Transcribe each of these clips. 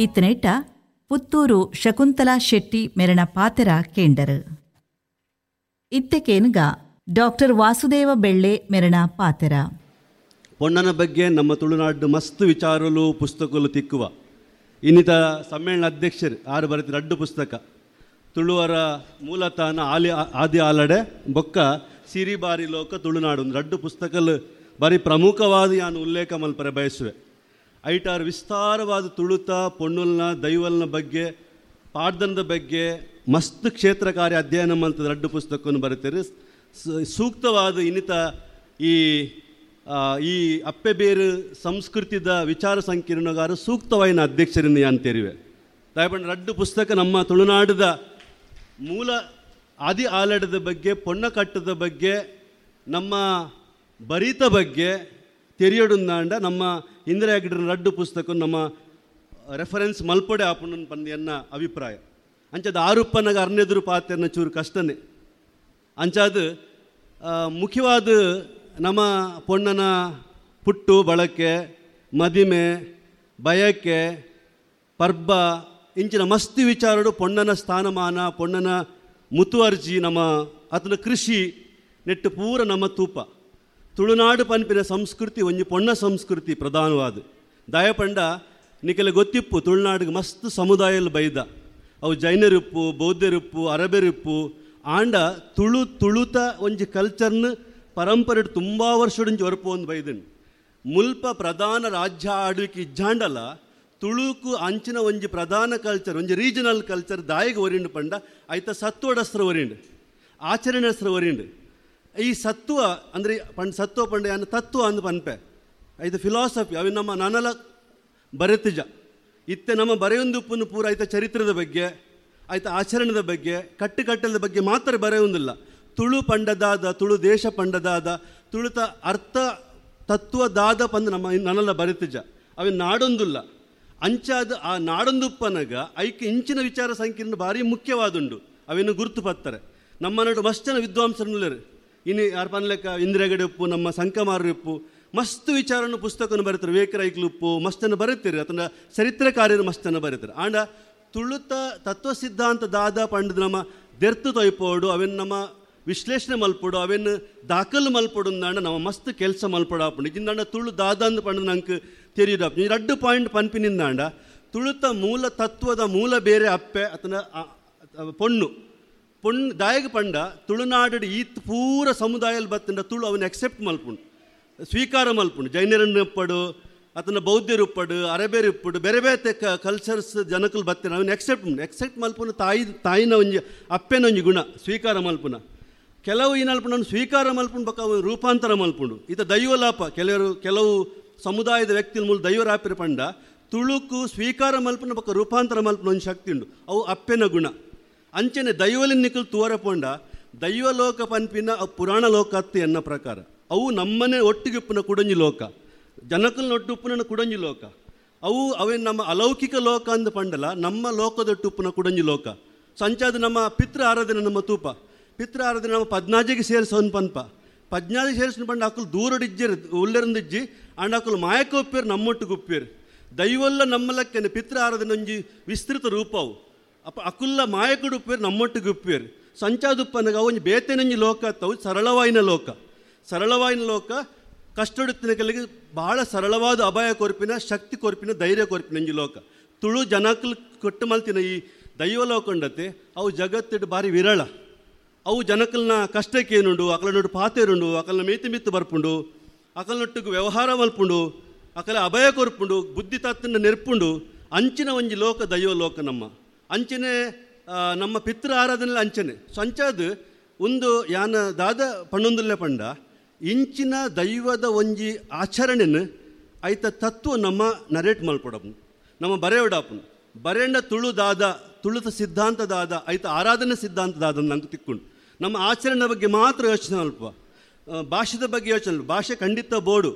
ಈತನೇಟ ಪುತ್ತೂರು ಶಕುಂತಲಾ ಶೆಟ್ಟಿ ಮೆರಣ ಪಾತೆರ ಕೇಂಡರು. ಇತ್ತೆಕೇನ್ಗ ಡಾಕ್ಟರ್ ವಾಸುದೇವ ಬೆಳ್ಳೆ ಮೆರಣ ಪಾತೆರ. ಪೊಣ್ಣನ ಬಗ್ಗೆ ನಮ್ಮ ತುಳುನಾಡು ಮಸ್ತ್ ವಿಚಾರಲು ಪುಸ್ತಕಲು ತಿಕ್ಕುವ. ಇನ್ನಿತ ಸಮ್ಮೇಳನ ಅಧ್ಯಕ್ಷರು ಆರು ಬರೆದ ರಡ್ಡು ಪುಸ್ತಕ ತುಳುವರ ಮೂಲತಾನ ಆಲಿ ಆದಿ ಆಲಡೆ ಬೊಕ್ಕ ಸಿರಿಬಾರಿ ಲೋಕ ತುಳುನಾಡು ಒಂದು ರಡ್ಡು ಪುಸ್ತಕಲು ಬಾರಿ ಪ್ರಮುಖವಾದ ಯಾನು ಉಲ್ಲೇಖ ಮಲ್ಪರೆ ಬಯಸುವೆ. ಐಟಾರು ವಿಸ್ತಾರವಾದ ತುಳುತ ಪೊಣ್ಣುಲ್ನ ದೈವಲ್ನ ಬಗ್ಗೆ ಪಾಡ್ದನದ ಬಗ್ಗೆ ಮಸ್ತ್ ಕ್ಷೇತ್ರ ಕಾರ್ಯ ಅಧ್ಯಯನ ಮಲ್ತದ ರಡ್ಡು ಪುಸ್ತಕವನ್ನು ಬರೀತಾರೆ. ಸೂಕ್ತವಾದ ಇನ್ನಿತ ಈ ಈ ಅಪ್ಪೆ ಬೇರು ಸಂಸ್ಕೃತಿದ ವಿಚಾರ ಸಂಕಿರಣಗಾರ ಸೂಕ್ತವಾಯಿನ ಅಧ್ಯಕ್ಷರಿಂದ ಯಾನ್ ತೆರಿವೆ. ದಯಪಂಡ ರಡ್ಡು ಪುಸ್ತಕ ನಮ್ಮ ತುಳುನಾಡದ ಮೂಲ ಆದಿ ಆಲಡದ ಬಗ್ಗೆ, ಪೊಣ್ಣಕಟ್ಟದ ಬಗ್ಗೆ, ನಮ್ಮ ಬರೀತ ಬಗ್ಗೆ ತೆರಿಯೊಡುಂದಾಂಡ ನಮ್ಮ ಇಂದಿರಾ ಹೆಗ್ಡೆರ ರಡ್ಡು ಪುಸ್ತಕ ನಮ್ಮ ರೆಫರೆನ್ಸ್ ಮಲ್ಪಡೆ ಆಪುಂಡು ಪಂದ್ ಎನ್ನ ಅಭಿಪ್ರಾಯ. ಅಂಚದ ಆರುಪ್ಪನಾಗ ಅರ್ನೆದುರು ಪಾತೆರ್ನ ಚೂರು ಕಷ್ಟನೇ. ಅಂಚಾದ ಮುಖ್ಯವಾದ ನಮ್ಮ ಪೊಣ್ಣನ ಪುಟ್ಟು ಬಳಕೆ, ಮದಿಮೆ, ಬಯಕೆ, ಪರ್ಬ ಇಂಚಿನ ಮಸ್ತಿ ವಿಚಾರಡು ಪೊಣ್ಣನ ಸ್ಥಾನಮಾನ, ಪೊಣ್ಣನ ಮುತುವರ್ಜಿ, ನಮ್ಮ ಆತನ ಕೃಷಿ ನೆಟ್ಟು ಪೂರ ನಮ್ಮ ತೂಪ. ತುಳುನಾಡು ಪನ್ಪಿನ ಸಂಸ್ಕೃತಿ ಒಂಜಿ ಪೊಣ್ಣ ಸಂಸ್ಕೃತಿ ಪ್ರಧಾನವಾದ. ದಯಪಂಡ ನಿಕಲೆ ಗೊತ್ತಿಪ್ಪು ತುಳುನಾಡಿಗೆ ಮಸ್ತ್ ಸಮುದಾಯಲು ಬೈದ, ಅವು ಜೈನರಿಪ್ಪು, ಬೌದ್ಧರಿಪ್ಪು, ಅರಬೆರಿಪ್ಪು. ಆಂಡ ತುಳು ತುಳುತ ಒಂಜಿ ಕಲ್ಚರ್ನ ಪರಂಪರೆ ತುಂಬ ವರ್ಷಡಿಂಚಿ ಒರಪು ಒಂದು ಬೈದನ್. ಮುಲ್ಪ ಪ್ರಧಾನ ರಾಜ್ಯ ಆಳ್ವಿಕೆ ಇಜ್ಜಾಂಡಲ ತುಳುಕು ಅಂಚಿನ ಒಂಜಿ ಪ್ರಧಾನ ಕಲ್ಚರ್, ಒಂಜಿ ರೀಜನಲ್ ಕಲ್ಚರ್ ದಾಯಿಗೆ ಒರಿಂಡು ಪಂಡ ಐತ ಸತ್ವಡಸ್ತ್ರ ಒರಿಂಡು, ಆಚರಣೆಸ್ತ್ರ ಒರಿಂಡು. ಈ ಸತ್ವ ಅಂದರೆ ಪಂಡ ಸತ್ವ ಪಂಡ ಯಾನ ತತ್ವ ಅಂದು ಪನ್ಪೆ, ಐತ ಫಿಲಾಸಫಿ ಅవి ನಮ್ಮ ನನಲ ಬರೆತಿಜ. ಇತ್ತೆ ನಮ್ಮ ಬರೆಯೊಂದುಪ್ಪನ್ನು ಪೂರ ಐತ ಚರಿತ್ರದ ಬಗ್ಗೆ, ಐತ ಆಚರಣೆದ ಬಗ್ಗೆ, ಕಟ್ಟುಕಟ್ಟಲದ ಬಗ್ಗೆ ಮಾತ್ರ ಬರೆಯೊಂದಿಲ್ಲ. ತುಳು ಪಂಡದಾದ, ತುಳು ದೇಶ ಪಂಡದಾದ, ತುಳುತ ಅರ್ಥ ತತ್ವದಾದ ಪಂದು ನಮ್ಮ ನನಲ ಬರೆತಿಜ, ಅవి ನಾಡೊಂದುಲ್ಲ. ಅಂಚಾದ ಆ ನಾಡೊಂದುಪ್ಪನಗ ಐಕೆ ಇಂಚಿನ ವಿಚಾರ ಸಂಕೀರ್ಣ ಭಾರಿ ಮುಖ್ಯವಾದುಂಡು, ಅವೇನು ಗುರುತು ಪತ್ತಾರೆ. ನಮ್ಮ ನಡು ಮಸ್ತ್ ಜನ ವಿದ್ವಾಂಸರನ್ನುಲ್ಲರು, ಇನ್ನು ಯಾರು ಪನ್ಲೆಕ್ಕ ಇಂದಿರಾಗಡೆ ಉಪ್ಪು, ನಮ್ಮ ಸಂಕಮಾರು ಉಪ್ಪು, ಮಸ್ತ್ ವಿಚಾರನ್ನು ಪುಸ್ತಕವನ್ನು ಬರೀತಾರೆ. ವಿವೇಕರೈಕ್ಲು ಉಪ್ಪು ಮಸ್ತನ್ನು ಬರೀತೀರಿ, ಅಥವಾ ಚರಿತ್ರೆಕಾರ್ಯರು ಮಸ್ತನ್ನು ಬರೀತಾರೆ. ಆಂಡ ತುಳುತ ತತ್ವ ಸಿದ್ಧಾಂತ ದಾದ ಪಂಡದ ನಮ್ಮ ದೆರ್ತು ತೊಯ್ಪೋಡು, ಅವೇನು ನಮ್ಮ ವಿಶ್ಲೇಷಣೆ ಮಲ್ಪಡು, ಅವೇನು ದಾಖಲು ಮಲ್ಪಡು ಅಂದಾಂಡ ನಮ್ಮ ಮಸ್ತ್ ಕೆಲಸ ಮಲ್ಪಡಾಪುಂಡು. ಇಂದಾಂಡ ತುಳು ದಾದ ಅಂದ್ ಪಂಡ ನಂಗೆ ತೆರಿಯದಾಪು. ಈ ರಡ್ಡು ಪಾಯಿಂಟ್ ಪನ್ಪಿನಿಂದಾಂಡ ತುಳುತ ಮೂಲ ತತ್ವದ ಮೂಲ ಬೇರೆ ಅಪ್ಪೆ ಅಥವಾ ಪೊಣ್ಣು ಪೊಣ್ಣು ದಾಯಗ ಪಂಡ ತುಳುನಾಡು ಈ ಪೂರ ಸಮುದಾಯದಲ್ಲಿ ಬತ್ತಂಡ ತುಳು ಅವನ್ನ ಅಕ್ಸೆಪ್ಟ್ ಮಲ್ಪುಂಡು, ಸ್ವೀಕಾರ ಮಲ್ಪುಂಡು. ಜೈನರನ್ನು ಉಪ್ಪಡು, ಅದನ್ನು ಬೌದ್ಧರು ಉಪ್ಪಡು, ಅರಬೇರು ಉಪ್ಪಡು, ಬೇರೆ ಬೇರೆ ಕಲ್ಚರ್ಸ್ ಜನಕಲು ಬತ್ತಿನ ಅವನ್ನ ಎಕ್ಸೆಪ್ಟ್ ಮಲ್ಪುನ ತಾಯಿನ ಒಂಜಿ ಅಪ್ಪೆನ ಒಂಜಿ ಗುಣ ಸ್ವೀಕಾರ ಮಲ್ಪುನ. ಕೆಲವು ಈ ಸ್ವೀಕಾರ ಮಲ್ಪುಂಡು ಬಕ್ಕ ಅವನು ರೂಪಾಂತರ ಮಲ್ಪುಂಡು. ಈತ ದೈವಲಾಪ ಕೆಲವು ಸಮುದಾಯದ ವ್ಯಕ್ತಿಗಳ ಮೂಲ ದೈವರಾಪಿರ ಪಂಡ ತುಳುಕು ಸ್ವೀಕಾರ ಮಲ್ಪುನ ಬಕ್ಕ ರೂಪಾಂತರ ಮಲ್ಪುನ ಒಂದು ಶಕ್ತಿ ಉಂಡು, ಅವು ಅಪ್ಪೆನ ಗುಣ. ಅಂಚನೆ ದೈವಲಿನ ನಿಕಲ್ ತೂವರ ಪೋಂಡ ದೈವಲೋಕ ಪನ್ಪಿನ ಪುರಾಣ ಲೋಕ ಅತ್ತು ಎನ್ನ ಪ್ರಕಾರ. ಅವು ನಮ್ಮನೆ ಒಟ್ಟಿಗೆ ಉಪ್ಪುನ ಕುಡಂಜಿ ಲೋಕ, ಜನಕಲ್ನ ಒಟ್ಟು ಉಪ್ಪುನ ಕುಡಂಜಿ ಲೋಕ. ಅವು ಅವೇ ನಮ್ಮ ಅಲೌಕಿಕ ಲೋಕ ಅಂದ ಪಂಡಲ ನಮ್ಮ ಲೋಕದೊಟ್ಟು ಉಪ್ಪುನ ಕುಡಂಜಿ ಲೋಕ. ಸಂಚಾದ ನಮ್ಮ ಪಿತೃ ಆರಾಧನೆ, ನಮ್ಮ ತೂಪ ಪಿತೃ ಆರಾಧನೆ ನಮ್ಮ ಪದ್ನಾಜಿಗೆ ಸೇರಿಸೋನ್ ಪನ್ಪ. ಪದ್ನಾಜಿಗೆ ಸೇರಿಸೋನ್ ಪಂಡ ಅಕ್ಕಲು ದೂರಡಿಜ್ಜಿರು ಉಲ್ಲರಿಂದಿಜ್ಜಿ ಅಂಡ್ ಅಕ್ಕಲು ಮಾಯಕ ಉಪ್ಪೇರು, ನಮ್ಮೊಟ್ಟಿಗೆ ಉಪ್ಪೇರು. ದೈವಲ್ಲ ನಮ್ಮಲಕ್ಕನೆ ಪಿತೃ ಆರಾಧನೆ ಒಂಜಿ ವಿಸ್ತೃತ ರೂಪವು. ಅಪ್ಪ ಅಕುಲ್ಲ ಮಾಯಕಡು ಉಪ್ಪೇರು, ನಮ್ಮೊಟ್ಟಿಗೆ ಉಪ್ಪೇರು. ಸಂಚಾದುಪ್ಪನಗ ಒಂಜಿ ಬೇತೆನಂಜಿ ಲೋಕ ಅತ್ತವು ಸರಳವಾಯಿನ ಲೋಕ. ಸರಳವಾಯಿನ ಲೋಕ ಕಷ್ಟಡುತ್ತಿನ ಕೆಲಗೆ ಭಾಳ ಸರಳವಾದ ಅಭಯ ಕೊರ್ಪಿನ, ಶಕ್ತಿ ಕೊರ್ಪಿನ, ಧೈರ್ಯ ಕೊರ್ಪಿನ ಒಂಜಿ ಲೋಕ. ತುಳು ಜನಕಲು ಕೊಟ್ಟು ಮಲ್ತಿನ ಈ ದೈವ ಲೋಕಂಡತೆ ಅವು ಜಗತ್ತಿಡು ಭಾರಿ ವಿರಳ. ಅವು ಜನಕಲ್ನ ಕಷ್ಟಕ್ಕೇನುಂಡು, ಅಕಲ ನೊಟ್ಟು ಪಾತೆರುಂಡು, ಅಕಲ್ನ ಮೇತಿ ಮಿತ್ತು ಬರ್ಪುಂಡು, ಅಕಲ್ನೊಟ್ಟಿಗೆ ವ್ಯವಹಾರ ಮಲ್ಪುಂಡು, ಅಕಲ ಅಭಯ ಕೊರ್ಪುಂಡು, ಬುದ್ಧಿ ತತ್ತನ್ನ ನೆರ್ಪುಂಡು. ಅಂಚಿನ ಒಂಜಿ ಲೋಕ ದೈವ ಲೋಕ ನಮ್ಮ. ಅಂಚನೆ ನಮ್ಮ ಪಿತೃ ಆರಾಧನೆ ಅಂಚನೆ ಸಂಚಾದ ಒಂದು ಯಾನ ದಾದ ಪಣ್ಣೊಂದುಲ್ಲೆ ಪಂಡ ಇಂಚಿನ ದೈವದ ಒಂಜಿ ಆಚರಣೆನ ಐತ ತತ್ವ ನಮ್ಮ ನರೇಟ್ ಮಲ್ಪಡಪ್ಪನು, ನಮ್ಮ ಬರೆಯೋಡಪ್ಪನು. ಬರೆಂಡ ತುಳು ದಾದ, ತುಳುತ ಸಿದ್ಧಾಂತದಾದ, ಐತ ಆರಾಧನೆ ಸಿದ್ಧಾಂತದಾದ ನಂಗೆ ತಿಕ್ಕೊಂಡು ನಮ್ಮ ಆಚರಣೆ ಬಗ್ಗೆ ಮಾತ್ರ ಯೋಚನೆ ಅಲ್ಪ, ಭಾಷೆದ ಬಗ್ಗೆ ಯೋಚನೆ. ಭಾಷೆ ಖಂಡಿತ ಬೋಡು,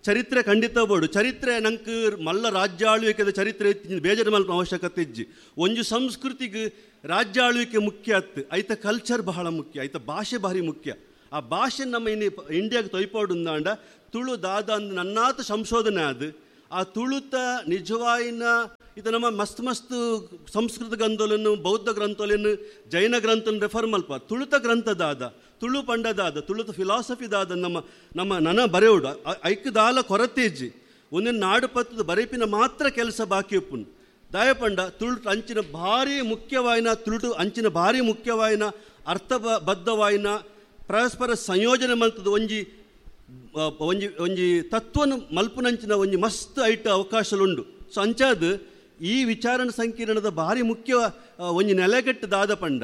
ಚರಿತ್ರೆ ಖಂಡಿತ ಬೋಡು. ಚರಿತ್ರೆ ನಂಗೆ ಮಲ್ಲ ರಾಜ್ಯ ಆಳ್ವಿಕೆದ ಚರಿತ್ರೆ ಬೇಜಾರು ಮಲ್ಪ ಅವಶ್ಯಕತೆ ಇಜ್ಜಿ. ಒಂಜಿ ಸಂಸ್ಕೃತಿಗೆ ರಾಜ್ಯ ಆಳ್ವಿಕೆ ಮುಖ್ಯ ಅತ್ತು, ಐತ ಕಲ್ಚರ್ ಬಹಳ ಮುಖ್ಯ, ಐತ ಭಾಷೆ ಭಾರಿ ಮುಖ್ಯ. ಆ ಭಾಷೆ ನಮ್ಮ ಇನ್ನು ಇಂಡಿಯಾಗೆ ತೊಯ್ಪಾಡುಂದಾಂಡ ತುಳು ದಾದ ಅಂದ್ ನನ್ನಾತ ಸಂಶೋಧನೆ ಅದು ಆ ತುಳುತ ನಿಜವಾಯಿನ ಇದು ನಮ್ಮ ಮಸ್ತ್ ಮಸ್ತ್ ಸಂಸ್ಕೃತ ಗ್ರಂಥಗಳನ್ನು, ಬೌದ್ಧ ಗ್ರಂಥಗಳನ್ನು, ಜೈನ ಗ್ರಂಥವನ್ನು ರೆಫರ್ ಮಲ್ಪ. ತುಳುತ ಗ್ರಂಥದಾದ, ತುಳು ಪಂಡದಾದ, ತುಳುತ ಫಿಲಾಸಫಿದಾದ ನಮ್ಮ ನಮ್ಮ ನನ ಬರೆಯೋಡು ಐಕ್ದಾಲ ಕೊರತೆ ಇಜ್ಜಿ. ಒಂದೊಂದು ನಾಡು ಪತ್ತದ ಬರೆಪಿನ ಮಾತ್ರ ಕೆಲಸ ಬಾಕಿ ಉಪ್ಪುನು. ದಾಯಪಂಡ ತುಳು ಅಂಚಿನ ಭಾರಿ ಮುಖ್ಯವಾಯಿನ, ತುಳುಟು ಅಂಚಿನ ಭಾರಿ ಮುಖ್ಯವಾಯಿನ ಅರ್ಥಬದ್ಧವಾಯಿನ ಪರಸ್ಪರ ಸಂಯೋಜನೆ ಮಲ್ತದ ಒಂಜಿ ಒಂಜಿ ಒಂಜಿ ತತ್ವನು ಮಲ್ಪುನಂಚಿನ ಒಂಜಿ ಮಸ್ತ್ ಐಟ್ ಅವಕಾಶಲುಂಡು. ಸೊ ಅಂಚಾದ ಈ ವಿಚಾರಣ ಸಂಕಿರಣದ ಭಾರಿ ಮುಖ್ಯ ಒಂಜಿ ನೆಲೆಗಟ್ಟು ದಾದ ಪಂಡ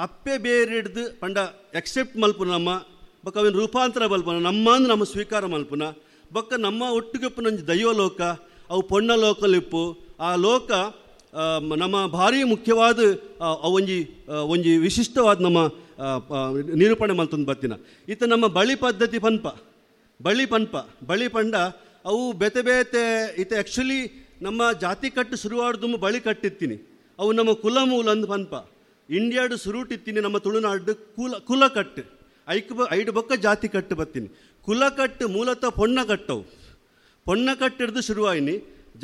ಅಪ್ಪೆ ಬೇರೆಡ್ದು ಪಂಡ ಎಕ್ಸೆಪ್ಟ್ ಮಲ್ಪುನ ನಮ್ಮ ಬೊಕ್ಕ ಅವಿನ ರೂಪಾಂತರ ಮಲ್ಪುನ ನಮ್ಮ ನಮ್ಮ ಸ್ವೀಕಾರ ಮಲ್ಪುನ ಬೊಕ್ಕ ನಮ್ಮ ಒಟ್ಟುಗೆಪ್ಪುನೊಂಜಿ ದೈವ ಲೋಕ ಅವು ಪೊಣ್ಣ ಲೋಕಲಿಪ್ಪು ಆ ಲೋಕ ನಮ್ಮ ಭಾರಿ ಮುಖ್ಯವಾದ ಒಂಜಿ ಒಂಜಿ ವಿಶಿಷ್ಟವಾದ ನಮ್ಮ ನಿರೂಪಣೆ ಮಲ್ತೊಂದು ಬತ್ತಿನ. ಇತ್ತ ನಮ್ಮ ಬಳಿ ಪದ್ಧತಿ ಪನ್ಪ ಬಳಿ ಪನ್ಪ ಬಳಿ ಪಂಡ ಅವು ಬೇತೆ ಬೇತೆ ಇತ್ತ ಆ್ಯಕ್ಚುಲಿ ನಮ್ಮ ಜಾತಿ ಕಟ್ಟು ಶುರುವಾಡ್ದು ಬಳಿ ಕಟ್ಟಿತ್ತೀನಿ ಅವು ನಮ್ಮ ಕುಲ ಮೂಲ ಅಂದು ಪನ್ಪ. ಇಂಡಿಯಾಡು ಸುರುಟಿತ್ತೀನಿ ನಮ್ಮ ತುಳುನಾಡು ಕುಲ ಕುಲ ಕಟ್ಟು ಐಕ್ ಐಡು ಬೊಕ್ಕ ಜಾತಿ ಕಟ್ಟು ಬತ್ತೀನಿ. ಕುಲ ಕಟ್ಟು ಮೂಲತಃ ಪೊಣ್ಣ ಕಟ್ಟವು, ಪೊಣ್ಣ ಕಟ್ಟಿಡ್ದು ಶುರುವಾಯಿನಿ.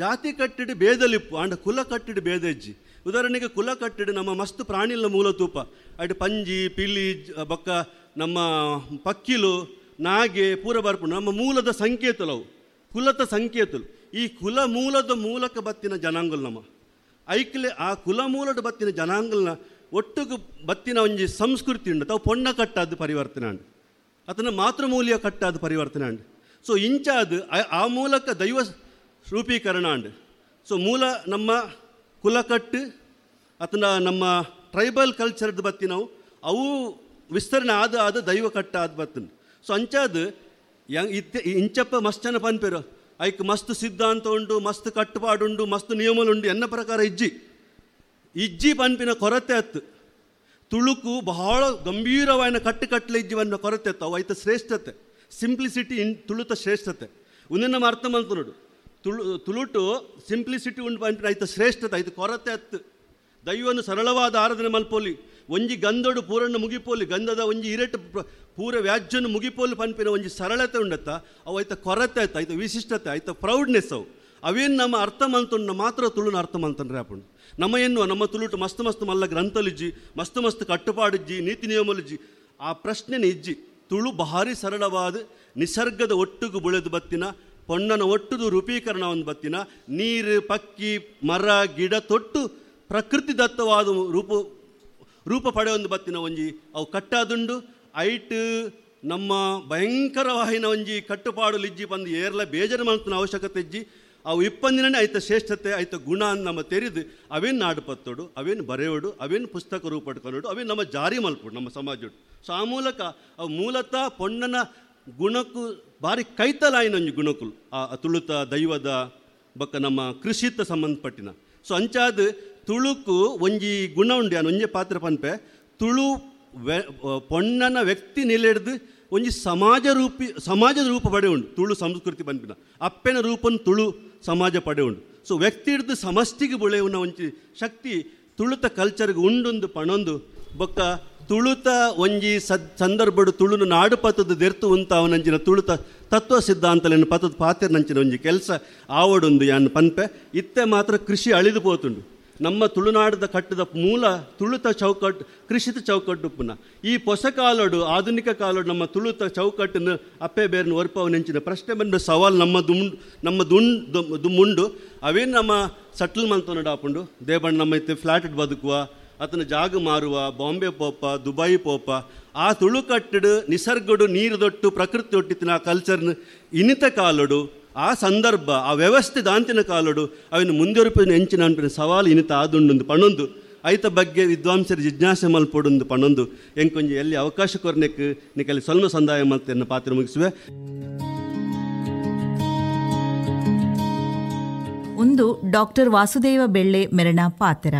ಜಾತಿ ಕಟ್ಟಿಡು ಬೇದಲಿಪ್ಪು ಆಂಡ ಕುಲ ಕಟ್ಟಿಡು ಬೇದಜ್ಜಿ. ಉದಾಹರಣೆಗೆ ಕುಲ ಕಟ್ಟಿಡು ನಮ್ಮ ಮಸ್ತ್ ಪ್ರಾಣಿಲ ಮೂಲ ತೂಪ ಐಡು ಪಂಜಿ ಪಿಲಿ ಬೊಕ್ಕ ನಮ್ಮ ಪಕ್ಕಿಲು ನಾಗೆ ಪೂರ ಬರ್ಪು ನಮ್ಮ ಮೂಲದ ಸಂಕೇತಲವು ಕುಲದ ಸಂಕೇತಲು. ಈ ಕುಲ ಮೂಲದ ಮೂಲಕ ಬತ್ತಿನ ಜನಾಂಗಲ್ ನಮ್ಮ ಐಕ್ಲೆ ಆ ಕುಲ ಮೂಲದ ಬತ್ತಿನ ಜನಾಂಗಲ್ನ ಒಟ್ಟುಗು ಬತ್ತಿನ ಒಂಜಿ ಸಂಸ್ಕೃತಿ ಉಂಡು ತಾವು ಪೊಣ್ಣ ಕಟ್ಟಾದ ಪರಿವರ್ತನೆ ಅಂಡು ಅದನ್ನು ಮಾತೃಮೂಲ್ಯ ಕಟ್ಟಾದ ಪರಿವರ್ತನೆ ಅಂಡು. ಸೊ ಇಂಚಾದ ಆ ಮೂಲಕ ದೈವ ರೂಪೀಕರಣ ಅಂಡು. ಸೊ ಮೂಲ ನಮ್ಮ ಕುಲಕಟ್ಟು ಅದನ್ನ ನಮ್ಮ ಟ್ರೈಬಲ್ ಕಲ್ಚರ್ದು ಬತ್ತಿನವು ಅವು ವಿಸ್ತರಣೆ ಆದ ಆದ ದೈವ ಕಟ್ಟಾದ ಬತ್ತಿನ. ಸೊ ಅಂಚಾದ ಇತ್ತೆ ಇಂಚಪ್ಪ ಮಸ್ತ್ ಜನ ಪನ್ಪೇರು ಐಕ್ ಮಸ್ತ್ ಸಿದ್ಧಾಂತ ಉಂಡು, ಮಸ್ತ್ ಕಟ್ಟುಪಾಡುಂಡು, ಮಸ್ತ್ ನಿಯಮలుಂಡು ಎನ್ನ ಪ್ರಕಾರ ಇಜ್ಜಿ ಇಜ್ಜಿ ಪನ್ಪಿನ ಕೊರತೆ ಅತ್ತು. ತುಳುಕು ಬಹಳ ಗಂಭೀರವಾದ ಕಟ್ಟುಕಟ್ಟಲೆ ಇಜ್ಜಿ ಪನ್ಪಿನ ಕೊರತೆ ಅತ್ತು. ಅವು ಐತ ಶ್ರೇಷ್ಠತೆ ಸಿಂಪ್ಲಿಸಿಟಿ ಇನ್ ತುಳುತ ಶ್ರೇಷ್ಠತೆ ಒಂದೇ ನಮ್ಮ ಅರ್ಥ ಮಲ್ತು ತುಳು ತುಳುಟು ಸಿಂಪ್ಲಿಸಿಟಿ ಉಂಡು ಪನ್ಪಿನ ಐತ ಶ್ರೇಷ್ಠತೆ ಐತ ಕೊರತೆ ಅತ್ತು. ದೈವನು ಸರಳವಾದ ಆರಾಧನೆ ಮಲ್ಪೋಲಿ ಒಂಜಿ ಗಂಧೋಡು ಪೂರನ್ನು ಮುಗಿಪೋಲಿ ಗಂಧದ ಒಂಜಿ ಇರೆಟ್ ಪೂರ ವ್ಯಾಜ್ಯನು ಮುಗಿಪೋಲಿ ಪನ್ಪಿನ ಒಂಜಿ ಸರಳತೆ ಉಂಡತ್ತ ಅವು ಐತ ಕೊರತೆ ಆಯ್ತು ಐತ ವಿಶಿಷ್ಟತೆ ಐತ ಪ್ರೌಡ್ನೆಸ್ ಅವು ಅವೇನು ನಮ್ಮ ಅರ್ಥ ಮಲ್ತುಂಡ ಮಾತ್ರ ತುಳುನ ಅರ್ಥ ಮಲ್ತಂಡ್ರೆ ಅಪ್ಪುಂಡು. ನಮ್ಮ ಎನ್ನುವ ನಮ್ಮ ತುಳುಟು ಮಸ್ತ್ ಮಸ್ತ್ ಮಲ್ಲ ಗ್ರಂಥಲಿಜ್ಜಿ ಮಸ್ತ್ ಮಸ್ತ್ ಕಟ್ಟುಪಾಡಿಜ್ಜಿ ನೀತಿ ನಿಯಮಲಿಜ್ಜಿ ಆ ಪ್ರಶ್ನೆನೇ ಇಜ್ಜಿ. ತುಳು ಭಾರಿ ಸರಳವಾದ ನಿಸರ್ಗದ ಒಟ್ಟುಗು ಬುಳೆದು ಬತ್ತಿನ ಪೊಣ್ಣನ ಒಟ್ಟುದು ರೂಪೀಕರಣ ಒಂದು ಬತ್ತಿನ ನೀರು ಪಕ್ಕಿ ಮರ ಗಿಡ ತೊಟ್ಟು ಪ್ರಕೃತಿ ದತ್ತವಾದ ರೂಪ ರೂಪ ಪಡೆಯೊಂದು ಬತ್ತಿನ ಒಂಜಿ ಅವು ಕಟ್ಟಾದುಂಡು. ಐಟ್ ನಮ್ಮ ಭಯಂಕರವಾಹಿನ ಒಂಜಿ ಕಟ್ಟುಪಾಡು ಲಿಜ್ಜಿ ಬಂದು ಏರ್ಲ ಬೇಜಾರು ಮಾಡ್ತನ ಅವಶ್ಯಕತೆ ಇಜ್ಜಿ. ಅವು ಇಪ್ಪಂದಿನೇ ಐತ ಶ್ರೇಷ್ಠತೆ ಐತ ಗುಣ ಅಂತ ನಮ್ಮ ತೆರೆದು ಅವೇನು ನಾಡುಪತ್ತೋಡು ಅವೇನು ಬರೆಯೋಡು ಅವೇನು ಪುಸ್ತಕ ರೂಪಡ್ಕೊಳೋಡು ಅವೇನು ನಮ್ಮ ಜಾರಿ ಮಲ್ಪೋಡು ನಮ್ಮ ಸಮಾಜೋಡು. ಸೊ ಆ ಮೂಲಕ ಅವು ಮೂಲತಃ ಪೊಣ್ಣನ ಗುಣಕ್ಕೂ ಭಾರಿ ಕೈತಲಾಯಿನ ಒಂಜಿ ಗುಣಕ್ಕುಲು ಆ ತುಳುತ ದೈವದ ಬೊಕ್ಕ ನಮ್ಮ ಕೃಷಿತ ಸಂಬಂಧಪಟ್ಟಿನ. ಸೊ ಅಂಚಾದ ತುಳುಕು ಒಂಜಿ ಗುಣ ಉಂಡು ಯಾನ್ ಒಂಜಿ ಪಾತ್ರ ಪನ್ಪೆ ತುಳು ಪೊಣ್ಣನ ವ್ಯಕ್ತಿ ನಿಲೆಡ್ದು ಒಂಜಿ ಸಮಾಜ ರೂಪಿ ಸಮಾಜದ ರೂಪ ಪಡೆ ಉಂಡು ತುಳು ಸಂಸ್ಕೃತಿ ಪನ್ಪಿನ ಅಪ್ಪೆನ ರೂಪನ್ ತುಳು ಸಮಾಜ ಪಡೆ ಉಂಡು. ಸೊ ವ್ಯಕ್ತಿ ಹಿಡ್ದು ಸಮಷ್ಟಿಗೆ ಬೆಳೆಯುವ ಒಂಜಿ ಶಕ್ತಿ ತುಳುತ ಕಲ್ಚರ್ಗೆ ಉಂಡೊಂದು ಪಣೊಂದು ಬೊಕ್ಕ ತುಳುತ ಒಂಜಿ ಸಂದರ್ಭಡು ತುಳುನು ನಾಡು ಪತ್ತದ ದೆರ್ತು ಉಂತಾವನಂಚಿನ ತುಳುತ ತತ್ವ ಸಿದ್ಧಾಂತಲೇನು ಪತ್ತದ ಪಾತೆರ್ನಂಚಿನ ಒಂಜಿ ಕೆಲಸ ಆವಡೊಂದು ಯಾನ್ ಪನ್ಪೆ. ಇತ್ತೆ ಮಾತ್ರ ಕೃಷಿ ಅಳಿದು ಪೋತುಂಡು ನಮ್ಮ ತುಳುನಾಡದ ಕಟ್ಟದ ಮೂಲ ತುಳುತ ಚೌಕಟ್ಟು ಕೃಷಿತ ಚೌಕಟ್ಟು ಪುನಃ ಈ ಹೊಸ ಕಾಲೋಡು ಆಧುನಿಕ ಕಾಲೋಡು ನಮ್ಮ ತುಳುತ ಚೌಕಟ್ಟನ್ನು ಅಪ್ಪೆ ಬೇರನ್ನು ಒರ್ಪವನೆಂಚಿನ ಪ್ರಶ್ನೆ ಬಂದ ಸವಾಲು ನಮ್ಮ ನಮ್ಮ ದುಂಡು ಅವೇನು ನಮ್ಮ ಸಟ್ಲ್ ಮಂತೊನಡು ಆಪುಂಡು ದೇಬಣ್ಣ ನಮ್ಮ ಇತ್ತೆ ಫ್ಲಾಟ್ ಬದುಕುವ ಆತನ ಜಾಗ ಮಾರುವ ಬಾಂಬೆ ಪೋಪ ದುಬೈ ಪೋಪ ಆ ತುಳು ಕಟ್ಟಡು ನಿಸರ್ಗಡು ನೀರು ದೊಟ್ಟು ಪ್ರಕೃತಿ ಒಟ್ಟಿತ್ತಿನ ಆ ಕಲ್ಚರ್ನ ಇನ್ನಿತ ಕಾಲೋಡು ಆ ಸಂದರ್ಭ ಆ ವ್ಯವಸ್ಥೆ ದಾಂತಿನ ಕಾಲೋಡು ಅವಿನ ಮುಂದುವರಿಪಿನ ಎಂಚಿನ ಅನ್ಪಿನ ಸವಾಲು ಇನ್ನಿತ ಆದುಂಡು ಪಣೊಂದು ಐತ ಬಗ್ಗೆ ವಿದ್ವಾಂಸರು ಜಿಜ್ಞಾಸೆ ಮಲ್ಪೊಡೊಂದು ಪಣೊಂದು ಎಂಕೊಂಜಿ ಎಲ್ಲಿ ಅವಕಾಶ ಕೊರ್ನೆಕ್ ನಿಕಲ್ಲಿ ಸ್ವಲ್ಪ ಸಂದಾಯ ಮಲ್ತೆನ್ನ ಪಾತ್ರ ಮುಗಿಸುವೆ. ಒಂದು ಡಾಕ್ಟರ್ ವಾಸುದೇವ ಬೆಳ್ಳೆ ಮೆರಣ ಪಾತ್ರ.